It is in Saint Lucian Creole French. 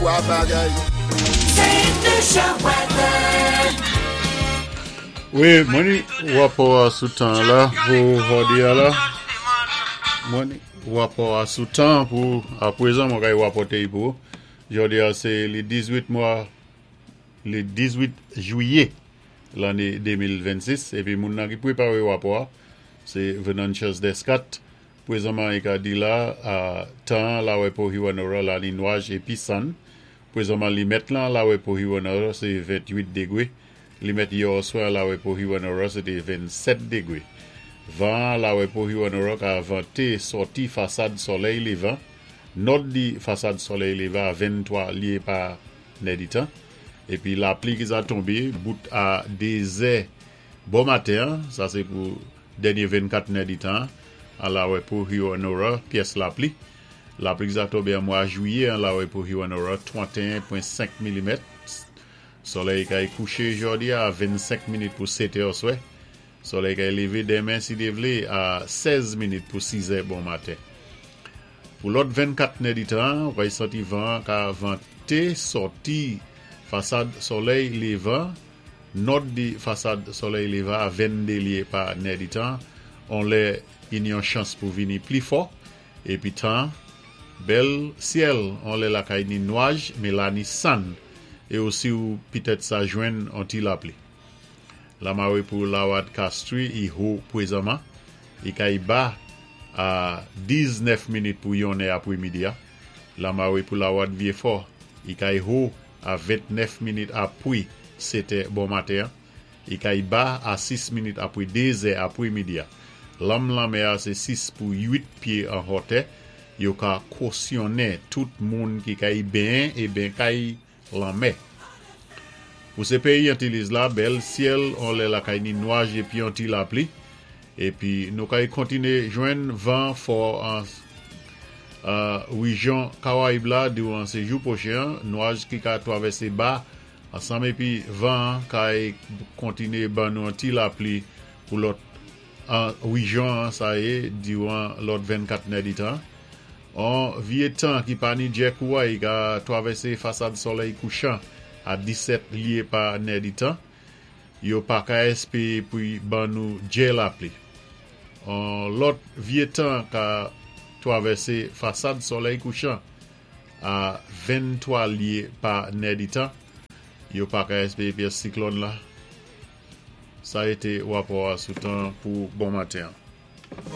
3 bagay. Saint Lucia weather. Wi, mwen ni rapò a sou tan an la pou jòdi a la. Mwen ni rapò a sou tan pou aprezan mwen kay rapòte y pou ou. Jòdi a se li 18 mwa li 18 jwiye lanne 2026 epi moun nan ki prepare rapò a se Venantius Descat. Prezanman i ka di la a tan an la wè pou Hewanorra la ni nwaj epi sann. Prezanman li mèt lan la wè pou Hewanorra se 28 degre. Li mèt yè oswa la wè pou Hewanorra se te 27 degre. Van an la wè pou Hewanorra ka vante sòti fasad sòlèy levan, nòd di fasad sòlèy levan a 23 lye pa nèditan. Epi lapli ki za tonbe bout a 2 zè Bon maten an, sa se pou dènye 24 nèditan an, an lawè pou Hewanorra, pyès lapli. Lapli ki sa tonbe an mwa jwiye an lawè pou Hewanorra, 31.5 milimèt. Solèy kay kouche jòdi a 25 minit pou 7 è oswè. Solèy kay leve denmen si Dye vle a 16 minit pou 6 è bon maten. Pou lòt 24 nèditan an, ou kay santi van an ka vante sòti fasad solèy levan. Nòd di fasad solèy leva a 22 lye pa nèditan, on lè gin yon chans pou vini pli fò, epi tan, bèl syèl, on lè lakay ni nwaj, me la ni sann, e osi ou pitèt sa jwenn on ti lapli. Lamare pou Lawad Castri i ho pwezanman, i kay ba a 19 minit pou yon nè apwemidi a. Lamare pou Lawad Vyefò i kay ho a 29 minit apwi setè bon maten an, e kay ba a 6 minit apwi dezè apwe midi a. Lanm lanmè a se 6 pou 8 pye an hòtè, yo ka kosyonnen tout moun ki kay benyen e ben kay lanmè. Pou se peyi Antiliz la, bèl syèl on lè lakay ni nwaj epi on ti lapli. Epi nou kay kontine jwenn van fò an rejyon Karayib la diran se jou pwochen an, nwaj ki ka twavèse ba ansanm epi van an kay kontine ban nou on ti lapli pou lòt rejyon an sa ye diran lòt 24 nèditan. On vye tan ki pa ni djè kouway ka twavèse fasad solèy kouchan a 17 lye pa nèditan. Yo pa ka espere pou y ban nou djè lapli. On lòt vye tan ka twavèse fasad solèy kouchan a 23 lye pa nèditan. Yo pa ka espere pyès siklòn la. Sa ete rapò a sou tan pou bon maten an.